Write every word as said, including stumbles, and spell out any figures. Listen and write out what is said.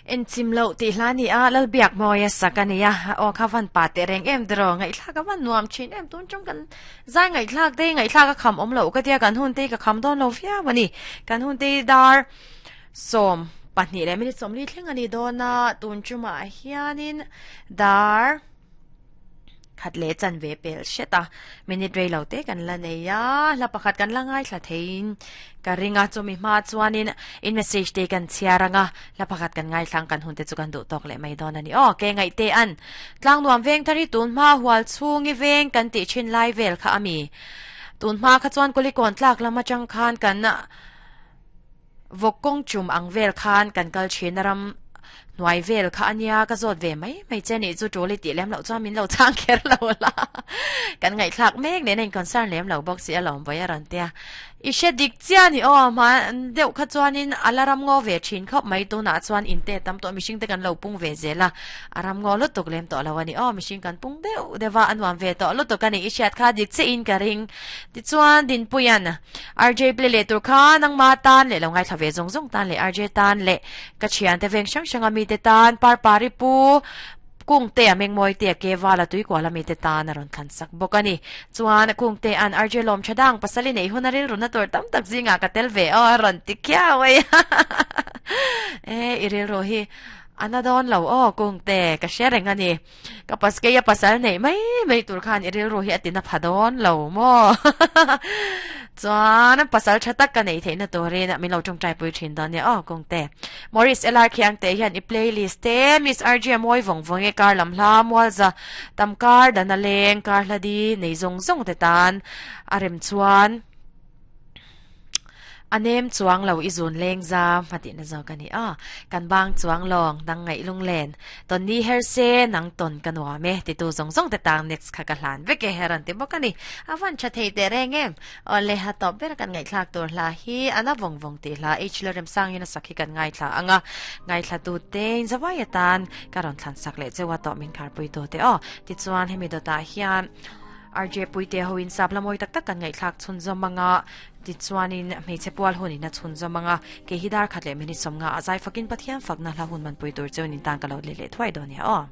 En chim lo ti hla ni a lal biak mawia sak ania aw kha van pa te reng em dro ngai thla ka van nuam thin em tun chung kan zai ngai thlak te ngai thlak ka kham om lo ka tia kan hun te ka kham don lo fia wani kan hun te dar som pahnih leh minute sawmli thleng ani dawna tun chuma hianin dar khat le chan ve pel seta minute rei lo te kan la nei a la pakhat kan la ngai thla thein ka ringa chumi ma chuanin in message te kan chiaranga la pakhat kan ngai thlang kan hun te chu kan du tok le mai don ani o ke ngai te an tlang nuam veng thari tun ma hual chungi veng kan ti chin lai vel kha ami tun ma kha chuan kulikon tlak lama chang khan kan vokong chum ang vel khan kan kal chin ram nuai vel kha ania ka zot ve mai mai che ni chu tuli ti lem lo chuan min lo chang kher lo la kan ngai thlak mek ne nen concern lem lo box si alom boya ran tia i she dik chia ni o ma deuh kha chuanin alaram ngo ve thin khop mai tu na chuan in te tam to mishing te kan lo pung ve zela aram ngo lu tuk lem to lo ani o mishing kan pung deuh dewa anwam ve to lu to kan i shat kha dik che in ka ring ti chuan din puyan R J play le tur kha nang ma tan le lo ngai thla ve zong zong tan le R J tan le ka chian te veng sang sang ami te tan par pari pu kung te ameng moi te ke wala tui ko la mi te tan aron khan sak bokani chuan kung te an R J lom chadang pasali nei hunaril runa tor tam tak zinga ka tel ve o ron ti kya wei e iril ro hi anadon lo o kung te ka sharing ani ka pas ke ya pasal nei mai mai tur khan iril ro hi atina phadon lo mo chuan pasal thatak ka nei theina turin min lo tong trai pui thin don ne o kung te Morris L R khiang te hian i playlist te Miss R J moi vong vong e kar lam hla mualza tamkar dana leng kar hladi nei zong zong te tan arem chuan anem chuang lo izun leng za mati na zo kani a kan bang chuang long nang ngai lung len ton ni her se nang ton kanwa me ti tu zong zong te tang next kha ka hlan ve ke heran ti bokani avan cha thei te reng em ole ha top ber kan ngai thlak tur hla hi ana vong vong ti hla h lerem sang ina sakhi kan ngai thla anga ngai thla tu te in zawai tan karon thlan sak le chewa to min khar pui to te o ti chuan hemi do ta hian R J puite hoin sapla moi tak tak kan ngai thlak chun zomanga ti chuanin hmeichhe pual hunin a chhun zawmanga ke hi dar khat leh minute sawmnga a zai fakin Pathian fakna hla hun man pui tur chuanin tan ka lo le le thuai dawn nia aw.